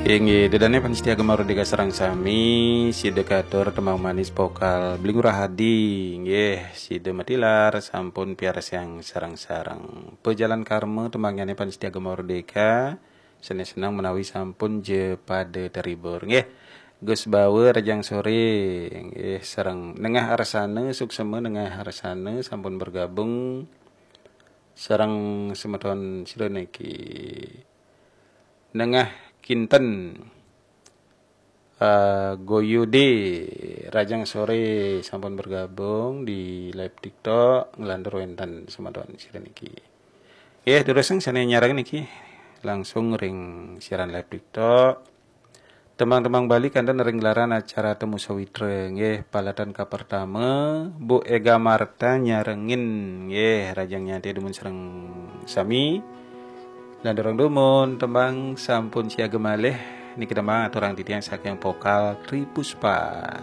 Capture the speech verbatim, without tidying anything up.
Inggih, ida dané pamiarsa Gema Merdeka sareng sami, sida katur tembang manis vokal Bli Ngurah Adi, inggih, sida matilar sampun piarsayang sareng-sareng. Pejalan Karma tembangnyané pamiarsa Gema Merdeka, sané seneng menawi sampun ja pada terhibur, inggih. Gus Bawa Rajang Sore, inggih, sareng Nengah Arsana, Suksema Nengah Arsana sampun bergabung sareng semeton sira niki. Nengah Kinten, eh, Goyude Rajang Sore sampun bergabung di live TikTok, nglantur wénten semeton sira niki. Nggih, terus sané nyareng niki langsung ring siaran live TikTok. Tembang-tembang Bali kanten ring gelaran acara Temu Sawitra, nggih, palatan kapertama, Bu Ega Marta nyarengin, nggih, Rajang Nyanti dumun sareng sami. Lan durung dumun, tembang sampun siaga malih, niki tembang aturang titiang saking vokal Tri Puspa.